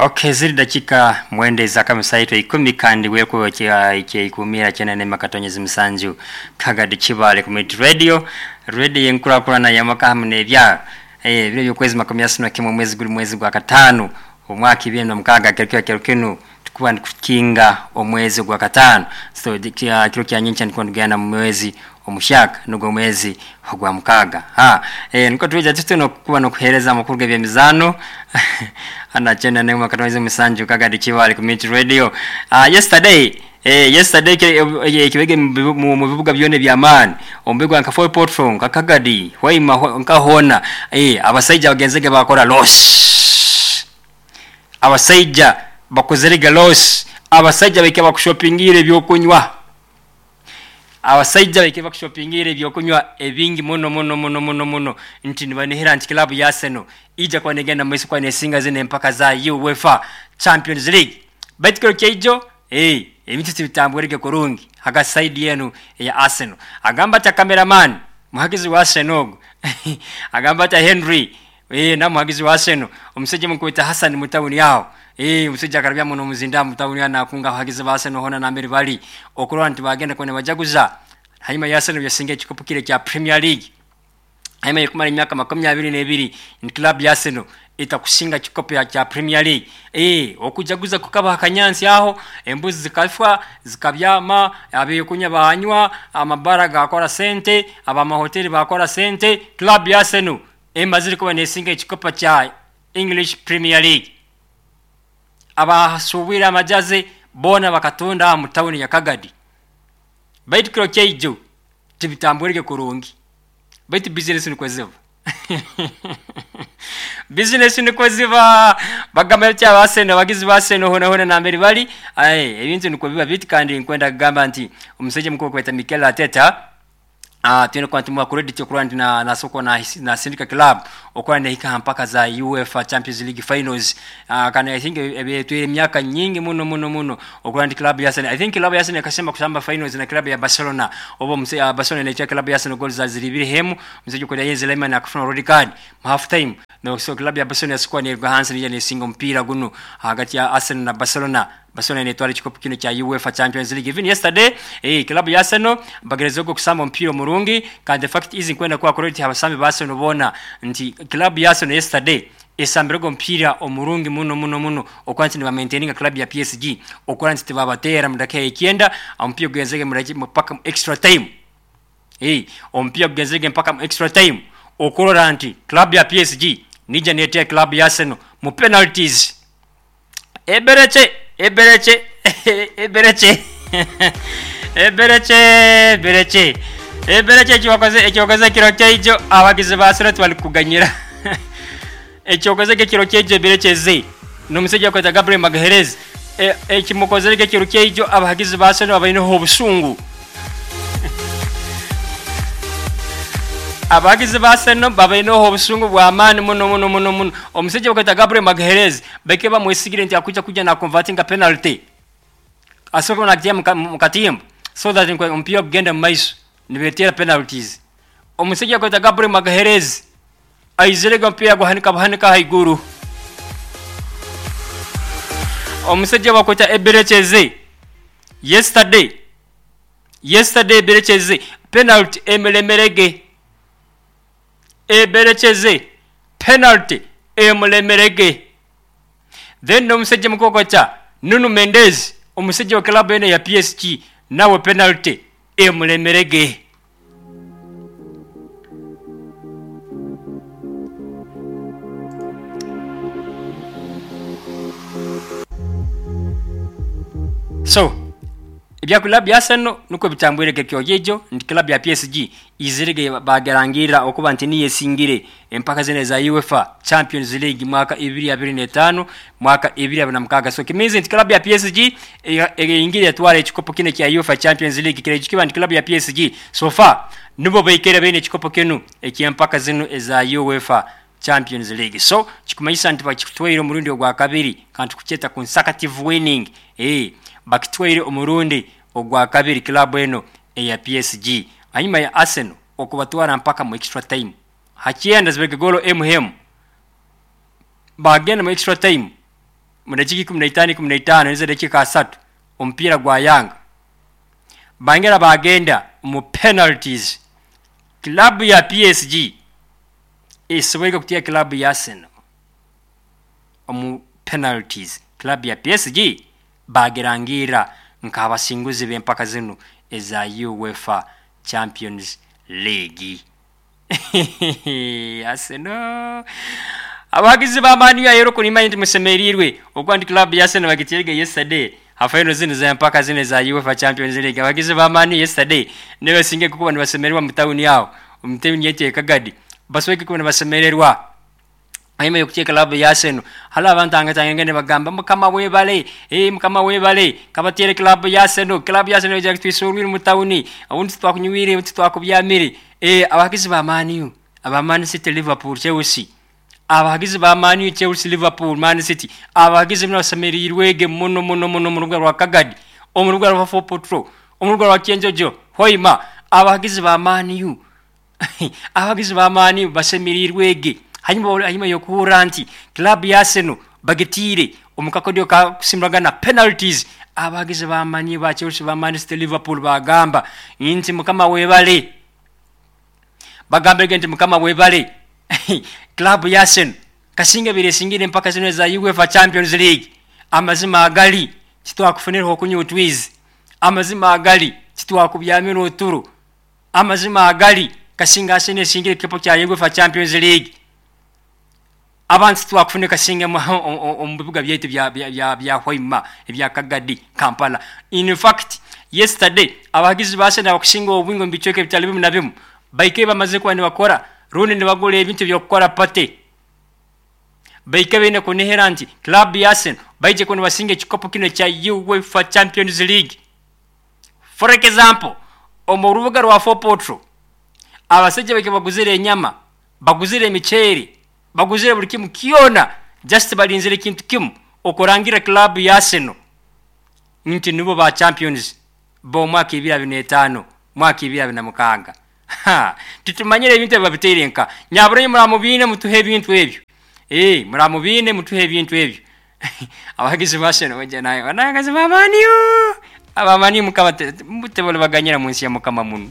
Okay, ziri dakika mwenda ezakamisaito 10 kandi weko kya 97 Kagadi Kibale Community Radio, radio yenkurakurana yamaka hamwe n'ebyaro. Biro by'okwezi 31 mwezi guri mwezi gwa katano omwaka 2026 kiro kiro kinu tukuba nikukinga omwezi gwa katano. So kiro kya nyencha ndiko ndugenda mu mwezi omushaka nugwo mwezi gwa mukaga. Niko tuja tutuno kuba nokuhereza amakuru g'ebyemizano ana chenda ne makatwezi musanju Kagadi Kibale Community Radio. Yesterday yesterday kibege mu bibuga byone bya maani ombigwa nka Fort Portal nka Kagadi waima nka hona abasaija bagenzege bakora loss, abasaija bakozerege loss, abasaija beke bakushoppingira ebyokunywa, abasaija beke bakushoppingira ebyokunywa ebingi muno muno muno muno muno nti nibanihira nti club ya Arsenal ija kwa negenda mu kwa nesinga zine mpaka za UEFA Champions League. Baitu kiro kyeijo ebintu tibitambwirege kurungi haga side yenu ya Arsenal. Agamba ta cameraman muhagizi wa Arsenal agamba ta Henry na muhagizi wa Arsenal omusajja mukwita Hassan mutawuni yao omusajja akarabya muno muzinda mutawuni yana akunga hagizi ba Arsenal hona nambere bali okurwa nti bagenda kone bajaguza hanyuma ya Arsenal yasinga ekikopo kile kya Premier League hanyuma yekumara emyaka 22 ni club ya Arsenal itakusinga kikopo cha Premier League. Okujaguza kukaba akanyansi aho embuzi zikafwa zikabyama abekunya banywa amabara gakora sente abamahoteli bakora sente. Club ya Arsenal emazire kuba nesinga ekikopo cha English Premier League. Abasubira amajaze bona bakatunda mu town ya Kagadi. Baitu kiro kyeijo tibitambwirege kurungi. Baitu business niko ziva. Business niko ziva bagamba kya baseno bagizi baseno hona hona nambere bali ebintu niko biba biti kandi nkwenda kugamba nti omusajja mukuru kweta Mikel Arteta tena kwa timu ya credit okurwa nti na soko na Syndicate Club okwa nehika mpaka za UEFA Champions League finals. Kana I think ebetwire emyaka nyingi muno muno muno okwa nti club ya Arsenal. I think club ya Arsenal yakasema kusamba finals na club ya Barcelona obo Barcelona inaitwa club ya Arsenal goals za zilibiri hemu msejo kwa Jens Lehmann akafuna red card half time no. So club ya Barcelona yasikuwa ni Hansen ni singo mpira guno hagati ya Arsenal na Barcelona. Barcelona inetwara ekikopo kino kya UEFA Champions League. Even yesterday club ya Arsenal bagerezego kusamba mpira murungi kandi the fact is nkwenda kwa credit abasambi ba Arsenal bona nti club ya Arsenal yesterday esambirego mpira omurungi muno muno muno okwanti ni maintaining club ya PSG okwanti tibabatera mu dakika 9 ompira genzege mu mpaka extra time ompira genzege mpaka extra time okurora nti club ya PSG nija netea club ya Arsenal mu penalties. Ebereche Ebereche Ebereche Ebereche Ebereche Ebereche ekiwakoze kiro kyeijo abagizi ba Arsenal twalikuganyira ekyokoze kiro kyeijo Ebereche ze n'omusajja kweta Gabriel Magalhaes ekimukozere kiro kyeijo abagizi ba Arsenal abayineho obusungu. Abagizi ba Arsenal babayineho obusungu bwa maani muno muno muno muno. Omusajja kweta Gabriel Magalhaes beke bamwesigire nti akuja kuja na converting a penalty asoko na kitia mukatimbo so that mpira kugenda maiso nibetera penalties. Omusajja kweta Gabriel Magalhaes aizerega mpira guhanika buhanika haiguru. Omusajja bakweta Ebereche yesterday Ebereche penalty emelemerege Ebereche penalty emulemerege. Then omusajja mukokocha Nuno Mendes omusajja wa club ene ya PSG nawe penalty emulemerege. So ebya club ya Arsenal nuko bitambwirege kyojejo ndi club ya PSG izirege bagerangira okuba nti niye singire empaka zene za UEFA Champions League mwaka 2025 mwaka 2026. So kimizi nti club ya PSG ingire yatwara ekikopo kine kya UEFA Champions League kire kiba nti club ya PSG so far nibo beikere bene ekikopo kinu ekyempaka zino eza UEFA Champions League. So kikumanyisa nti bakitwaire omurundi ogwa kabiri kandi kucheta consecutive winning bakitwaire omurundi ogwa kabiri club eno eya PSG hanyuma ya Arsenal okubatwara mpaka mu extra time hakienda zibege golo mm bagenda mu extra time. Mu dakiika 15, 15 nizo dakiika 30, omupiira gwayanga, bangera bagenda mu penalties. Club ya PSG esoboire kuteera club ya Arsenal omu penalties. Club ya PSG bagirangiira nk'abasinguzi b'empaka zinu eza UEFA Champions League. Arsenal, abahagizi ba Man U ahero kunimanya nti musemeriirwe okuba nti club ya Arsenal bagiteerege yesterday ha final zinu z'empaka zinu eza UEFA Champions League. Abahagizi ba Man U yesterday nibasinga kuba nibasemererwa mu tawuni aho, omu tawuni yaitu e Kagadi, basoboire kuba nibasemererwa hanyuma y'okuteera club ya Arsenal. Hali abantangatanga nibagamba, "Mukama webale, Mukama webale, kabateere club ya Arsenal. Club ya Arsenal ija kutwisorwire mu tawuni, obundi titwakunywire, obundi titwakubyamire." Abahagizi ba Man U, aba Man City, Liverpool, Chelsea, abahagizi ba Man U, Chelsea, Liverpool, Man City, abahagizi binu basemeriirwege muno muno muno omu rubuga rwa Kagadi, omu rubuga rwa Fort Portal, omu rubuga rwa Kyenjojo, Hoima. Abahagizi ba Man U, abahagizi ba Man U basemeriirwege hanyuma y'okuhurra nti club ya Arsenal bagitiire omu kakodyo ka kusimuragana penalties. Abahagizi ba Man U, ba Chelsea, ba Man City, Liverpool bagamba nti Mukama webale, bagambege nti Mukama webale, club ya Arsenal kasinga ebiri esingire empaka zino eza UEFA Champions League. Amazima agali titwakufunireho okunywa otwizi, amazima agali titwakubyamira oturo, amazima agali kasinga Arsenal esingire ekikopo kya UEFA Champions League, abantu titwakufuna kasinga omu bibuga byaitu bya Hoima, ebya Kagadi, Kampala. In fact, yesterday abahagizi ba Arsenal abakusinga obwingi omu bicweka ebitali bimu na bimu baikaire bamaze kuba nibakora rundi nibagura ebintu eby'okukora party, baikaire baine kunihira nti club ya Arsenal baije kuba nibasinga ekikopo kinu ekya UEFA Champions League. For example, omu rubuga rwa Fort Portal abasaija baike baguzire enyama, baguzire emiceeri, baguzire buli kimu kyona, just balinzire ekintu kimu, okurangira club ya Arsenal nti nibo ba champions b'omwaka 2025, mwaka 2026. Titumanyire ebintu ebi babiteire nka nyaburanyi. Muramubiine mutuhe ebintu ebyo, muramubiine mutuhe ebintu ebyo. Abahagizi ba Arsenal baija naye, abahagizi ba Man U, aba Man U, Mukama tebali baganyira mu nsi ya Mukama muno.